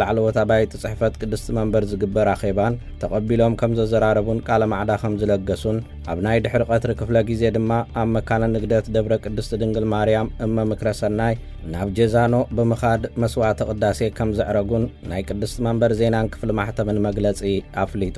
ላዕለዎት ኣባይቲ ጽሕፈት ቅድስቲ መንበር ዝግበር ኣኼባን ተቐቢሎም ከም ዘዘራረቡን ቃለ ማዕዳ ከም ዝለገሱን፣ ኣብ ናይ ድሕሪ ቀትሪ ክፍለ ግዜ ድማ ኣብ መካነ ንግደት ደብረ ቅድስቲ ድንግል ማርያም እመ ምክረ ሰናይ ናብ ጀዛኖ ብምኻድ መስዋዕተ ቅዳሴ ከም ዘዕረጉን ናይ ቅድስቲ መንበር ዜናን ክፍሊ ማሕተምን መግለጺ ኣፍሊጡ።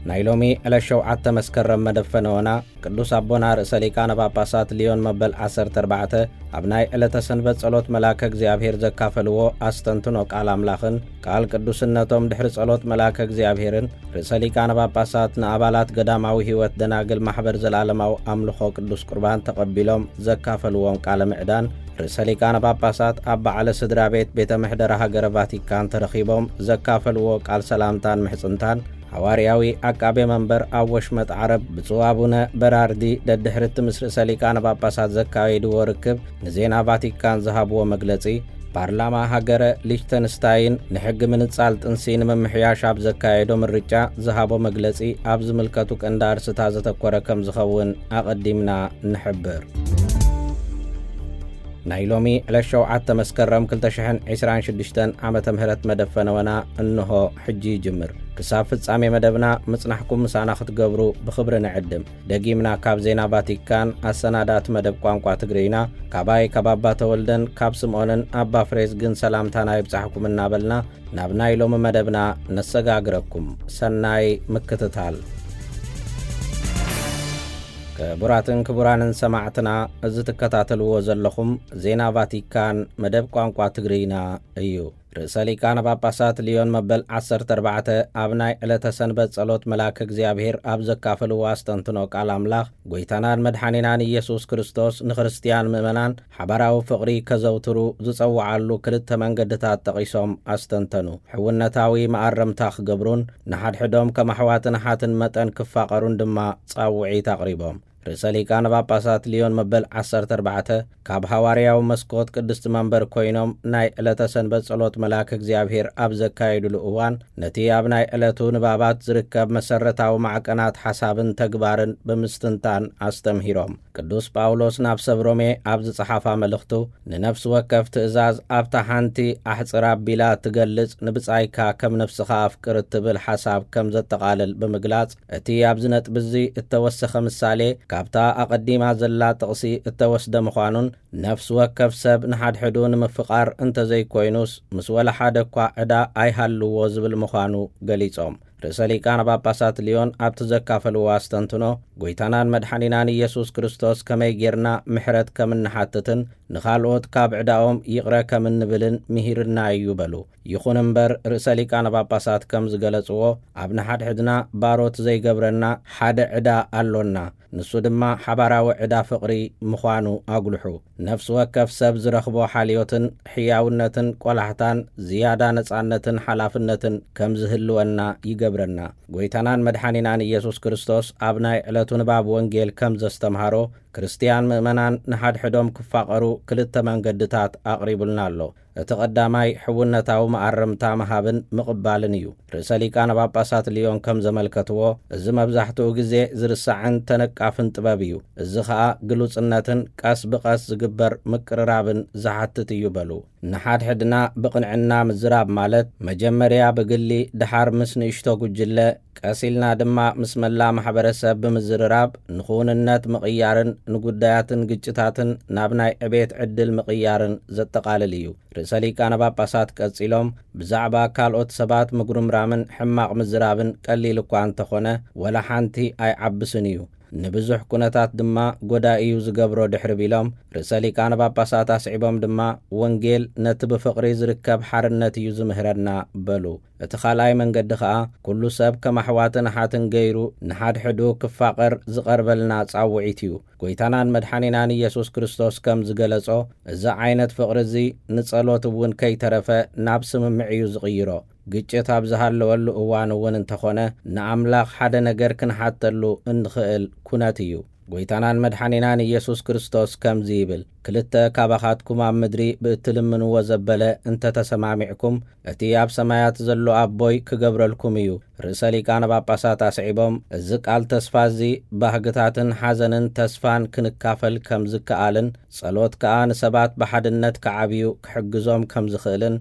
ናይ ሎሚ ዕለት ሸውዓተ መስከረም መደብ ፈነወና ቅዱስ ኣቦና ርእሰ ሊቃነ ጳጳሳት ሊዮን መበል ዓሰርተ ኣርባዕተ ኣብ ናይ ዕለተ ሰንበት ጸሎት መልኣከ እግዚኣብሔር ዘካፈልዎ ኣስተንትኖ ቃል ኣምላኽን ቃል ቅዱስነቶም ድሕሪ ጸሎት መልኣከ እግዚኣብሔርን ርእሰ ሊቃነ ጳጳሳት ንኣባላት ገዳማዊ ሕይወት ደናግል ማሕበር ዘላለማዊ ኣምልኾ ቅዱስ ቁርባን ተቐቢሎም ዘካፈልዎም ቃለ ምዕዳን ርእሰ ሊቃነ ጳጳሳት ኣብ በዓለ ስድራ ቤት ቤተ ምሕደራ ሃገረ ቫቲካን ተረኺቦም ዘካፈልዎ ቃል ሰላምታን ምሕጽንታን ሓዋርያዊ ዓቃቤ መንበር ኣብ ወሽመጥ ዓረብ ብፁዕ ኣቡነ በራርዲ ደድሕርቲ ምስ ርእሰ ሊቃነ ጳጳሳት ዘካየድዎ ርክብ ንዜና ቫቲካን ዝሃብዎ መግለጺ፣ ፓርላማ ሃገረ ሊችተንስታይን ንሕጊ ምንጻል ጥንሲ ንምምሕያሽ ኣብ ዘካየዶ ምርጫ ዝሃቦ መግለጺ ኣብ ዝምልከቱ ቀንዲ ኣርስታ ዘተኮረ ከም ዝኸውን ኣቐዲምና ንሕብር። ናይ ሎሚ ዕለት ሸውዓተ መስከረም ክልተ ሽሕን ዕስራን ሽዱሽተን ዓመተ ምህረት መደብ ፈነወና እንሆ ሕጂ ይጅምር። ክሳብ ፍጻሜ መደብና ምጽናሕኩም ምሳና ክትገብሩ ብኽብሪ ንዕድም። ደጊምና ካብ ዜና ቫቲካን ኣሰናዳእቲ መደብ ቋንቋ ትግርይና፣ ካባይ ካብ ኣባ ተወልደን ካብ ስምዖንን ኣባ ፍሬዝግን ሰላምታና ይብጻሕኩም እናበልና፣ ናብ ናይ ሎሚ መደብና ነሰጋግረኩም። ሰናይ ምክትታል። ክቡራትን ክቡራንን ሰማዕትና፣ እዚ ትከታተልዎ ዘለኹም ዜና ቫቲካን መደብ ቋንቋ ትግርይና እዩ። ርእሰ ሊቃነ ጳጳሳት ሊዮን መበል ዓሰርተ ኣርባዕተ ኣብ ናይ ዕለተ ሰንበት ጸሎት መልኣከ እግዚኣብሔር ኣብ ዘካፈልዎ ኣስተንትኖ ቃል ኣምላኽ፣ ጐይታናን መድሓኒናን ኢየሱስ ክርስቶስ ንክርስትያን ምእመናን ሓባራዊ ፍቕሪ ከዘውትሩ ዝጸውዓሉ ክልተ መንገድታት ጠቒሶም ኣስተንተኑ። ሕውነታዊ መኣረምታ ክገብሩን ንሓድሕዶም ከም ኣሕዋትን ኣሓትን መጠን ክፋቐሩን ድማ ጻውዒት ኣቕሪቦም። ርእሰ ሊቃነ ጳጳሳት ሊዮን መበል ዓሰርተ ኣርባዕተ ካብ ሃዋርያዊ መስኮት ቅድስቲ መንበር ኮይኖም ናይ ዕለተ ሰንበት ጸሎት መልኣክ እግዚኣብሔር ኣብ ዘካየዱሉ እዋን፣ ነቲ ኣብ ናይ ዕለቱ ንባባት ዝርከብ መሰረታዊ ማዕቀናት ሓሳብን ተግባርን ብምስትንታን ኣስተምሂሮም። ቅዱስ ጳውሎስ ናብ ሰብ ሮሜ ኣብ ዝጸሓፋ መልእኽቱ፣ ንነፍሲ ወከፍ ትእዛዝ ኣብታ ሓንቲ ኣሕጽር ኣቢላ እትገልጽ ንብጻይካ ከም ነፍስኻ ኣፍቅር እትብል ሓሳብ ከም ዘጠቓልል ብምግላጽ፣ እቲ ኣብዚ ነጥቢ እዚ እተወሰኸ ምሳሌ ካብታ ኣቐዲማ ዘላ ጥቕሲ እተወስደ ምዃኑን፣ ነፍሲ ወከፍ ሰብ ንሓድሕዱ ንምፍቓር እንተዘይኮይኑስ ምስ ወላ ሓደ እኳ ዕዳ ኣይሃልዎ ዝብል ምዃኑ ገሊጾም። ርእሰ ሊቃነ ጳጳሳት ሊዮን ኣብቲ ዘካፈልዎ ኣስተንትኖ፣ ጐይታናን መድሓኒናን ኢየሱስ ክርስቶስ ከመይ ጌርና ምሕረት ከም እንሓትትን ንኻልኦት ካብ ዕዳኦም ይቕረ ከም እንብልን ምሂርና እዩ በሉ። ይኹን እምበር፣ ርእሰ ሊቃነ ጳጳሳት ከም ዝገለጽዎ፣ ኣብ ንሓድሕድና ባሮት ዘይገብረና ሓደ ዕዳ ኣሎና። ንሱ ድማ ሓባራዊ ዕዳ ፍቕሪ ምዃኑ ኣጉልሑ። ነፍሲ ወከፍ ሰብ ዝረኽቦ ሓልዮትን ሕያውነትን ቆላሕታን ዝያዳ ነጻነትን ሓላፍነትን ከም ዝህልወና ይገብረና። ጐይታናን መድሓኒናን ኢየሱስ ክርስቶስ ኣብ ናይ ዕለቱ ንባብ ወንጌል ከም ዘስተምሃሮ፣ ክርስትያን ምእመናን ንሓድሕዶም ክፋቐሩ ክልተ መንገድታት ኣቕሪቡልና ኣሎ። እቲ ቀዳማይ ሕውነታዊ መኣረምታ ምሃብን ምቕባልን እዩ። ርእሰ ሊቃነ ጳጳሳት ሊዮን ከም ዘመልከትዎ፣ እዚ መብዛሕትኡ ግዜ ዝርሳዕን ተነቃፍን ጥበብ እዩ። እዚ ኸኣ ግሉጽነትን ቀስ ብቐስ ዝግበር ምቅርራብን ዝሓትት እዩ በሉ። ንሓድሕድና ብቕንዕና ምዝራብ ማለት፣ መጀመርያ ብግሊ፣ ደሓር ምስ ንእሽቶ ጉጅለ፣ ቀስ ኢልና ድማ ምስ መላ ማሕበረሰብ ብምዝርራብ ንኽውንነት ምቕያርን ንጉዳያትን ግጭታትን ናብ ናይ ዕቤት ዕድል ምቕያርን ዘጠቓልል እዩ። ርእሰ ሊቃነ ጳጳሳት ቀጺሎም፣ ብዛዕባ ካልኦት ሰባት ምጉርምራምን ሕማቕ ምዝራብን ቀሊል እኳ እንተኾነ፣ ወላ ሓንቲ ኣይዓብስን እዩ። ንብዙሕ ኩነታት ድማ ጎዳኢ እዩ ዝገብሮ ድሕሪ ቢሎም፣ ርእሰ ሊቃነ ጳጳሳት ኣስዒቦም ድማ፣ ወንጌል ነቲ ብፍቕሪ ዝርከብ ሓርነት እዩ ዝምህረና በሉ። እቲ ካልኣይ መንገዲ ኸኣ፣ ኩሉ ሰብ ከም ኣሕዋትን ኣሓትን ገይሩ ንሓድሕዱ ክፋቐር ዝቐርበልና ጻውዒት እዩ። ጐይታናን መድሓኒናን ኢየሱስ ክርስቶስ ከም ዝገለጾ፣ እዚ ዓይነት ፍቕሪ እዚ ንጸሎት እውን ከይተረፈ ናብ ስምምዕ እዩ ዝቕይሮ። ግጭት ኣብ ዝሃለወሉ እዋን እውን እንተኾነ፣ ንኣምላኽ ሓደ ነገር ክንሓተሉ እንኽእል ኩነት እዩ። ጎይታናን መድሓኒናን ኢየሱስ ክርስቶስ ከምዚ ይብል፣ ክልተ ካባኻትኩም ኣብ ምድሪ ብእትልምንዎ ዘበለ እንተ ተሰማሚዕኩም፣ እቲ ኣብ ሰማያት ዘሎ ኣቦይ ክገብረልኩም እዩ። ርእሰ ሊቃነ ጳጳሳት ኣስዒቦም፣ እዚ ቃል ተስፋ እዚ ባህግታትን ሓዘንን ተስፋን ክንካፈል ከም ዝከኣልን፣ ጸሎት ከኣ ንሰባት ብሓድነት ክዓብዩ ክሕግዞም ከም ዝኽእልን፣